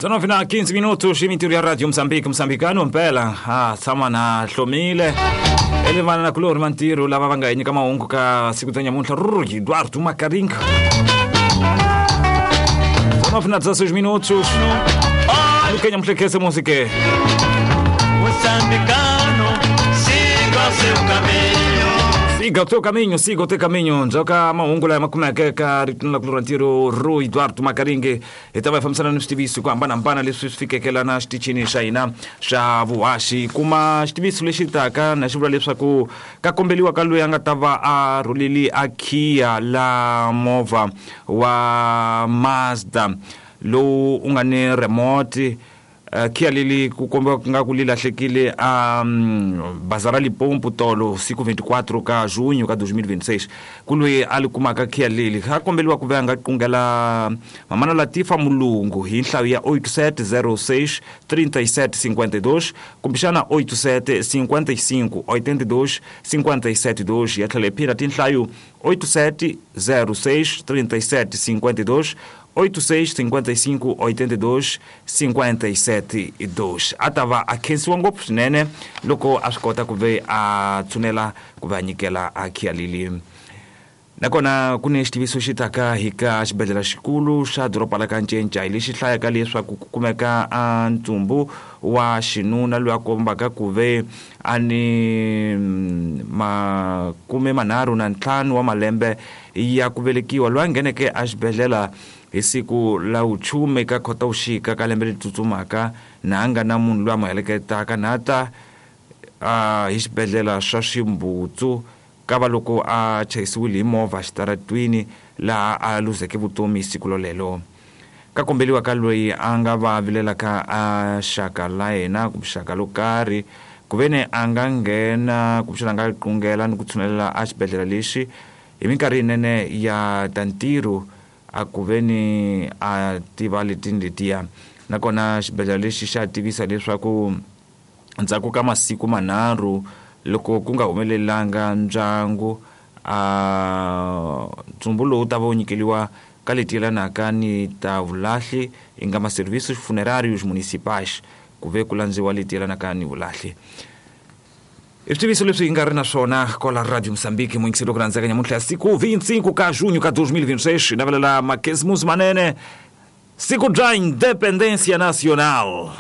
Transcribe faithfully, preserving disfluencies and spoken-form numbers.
dezenove na quinze minutos, mintirho ya Radio Moçambique, moçambicano mpela a tshama na hlomile elevana na kulori mantirho lava va nga hi nyika mahungu ka siku ta nyamuntlha Rui Eduardo Makaringa. dezenove na dezesseis minutos. Lukenya mhlekese música. Moçambicano, siga o seu caminho. Siga o teu caminho, siga o teu caminho. Njoka mahungu lama kumeke ka ritno la kulori ntirho Rui Eduardo Makaringe. Hi ta va hi fambisana ni switiviso ku hambanahambana leswi swi fikeke lana xitichini xa hina xa vuhaxi. Kuma xitiviso lexi taka na xi vula leswaku ka kombeliwa ka loyi a nga ta va a rhuleli a khiya la movha wa Mazda lowu u nga ni remote. Khiya leli ku kombiwa nga ku li lahlekile a bazara Limpopo tolo siku vinte e quatro ka junho ka dois mil e vinte e seis. Ku loyi a li kumaka khiya leli a kombeliwa ku va a nga qungela mamana Latifa Mulungu hi nhlayo ya oito sete zero seis trinta e sete cinquenta e dois kumbexana oito sete cinquenta e cinco oitenta e dois cinquenta e sete dois. Ya tlhela yi phina tinhlayo oito sete zero seis trinta e sete cinquenta e dois oito seis cinquenta e cinco oitenta e dois cinquenta e sete dois. A ta va a khensiwa ngopfu swinene loko a swi kota ku ve a tshunela ku va nyikela a khiya leli. Nakona ku ni xitiviso xi taka hi ka xibedhlele xikulu xa doroba la ka Ncencai lexi hlayaka leswaku ku kumeka a ntsumbu wa xinuna loyi a kombaka ku ve a ni makume manharhu na ntlhanu wa malembe ya ku velekiwa loyi a ngheneke a xibedhlele hi siku la vuchume ka Khotavuxika ka lembe leri tsutsumaka na a nga na munhu loyi a mu heleketaka na ta hi xibedhlele swa Ximbutsu ka va loko a chayisiwile hi movha xitaratwini laha a luzeke vutomi siku lolelo. Ka kombeliwa ka loyi a nga va vilelaka a xaka la yena kumbe xaka lo karhi ku ve ni a nga nghena kumbexana a nga qungela ni ku tshunelela a xibedhlele lexi hi minkarhi yinene ya ta ntirho a ku ve ni a tiva letini letiya. Nakona xibedhlele lexi xa tivisa leswaku ndzhaku ka masiku manharhu loko ku nga humelelanga ndyangu a ntsumbu lowu ta va wu nyikeliwa ka leti yelanaka ni ta vulahli yi nga ma-serviços funerários municipais ku ve ku landziwa leti yelanaka ni vulahli. I switiviso leswi hi nga ri na swona kwala Radio Moçambique muyingiseri wa ku rhandzeka nyamuntlha ya siku vinte e cinco ka junho ka dois mil e vinte e seis. Hi navelela makesimusi manene siku bya Independência Nacional.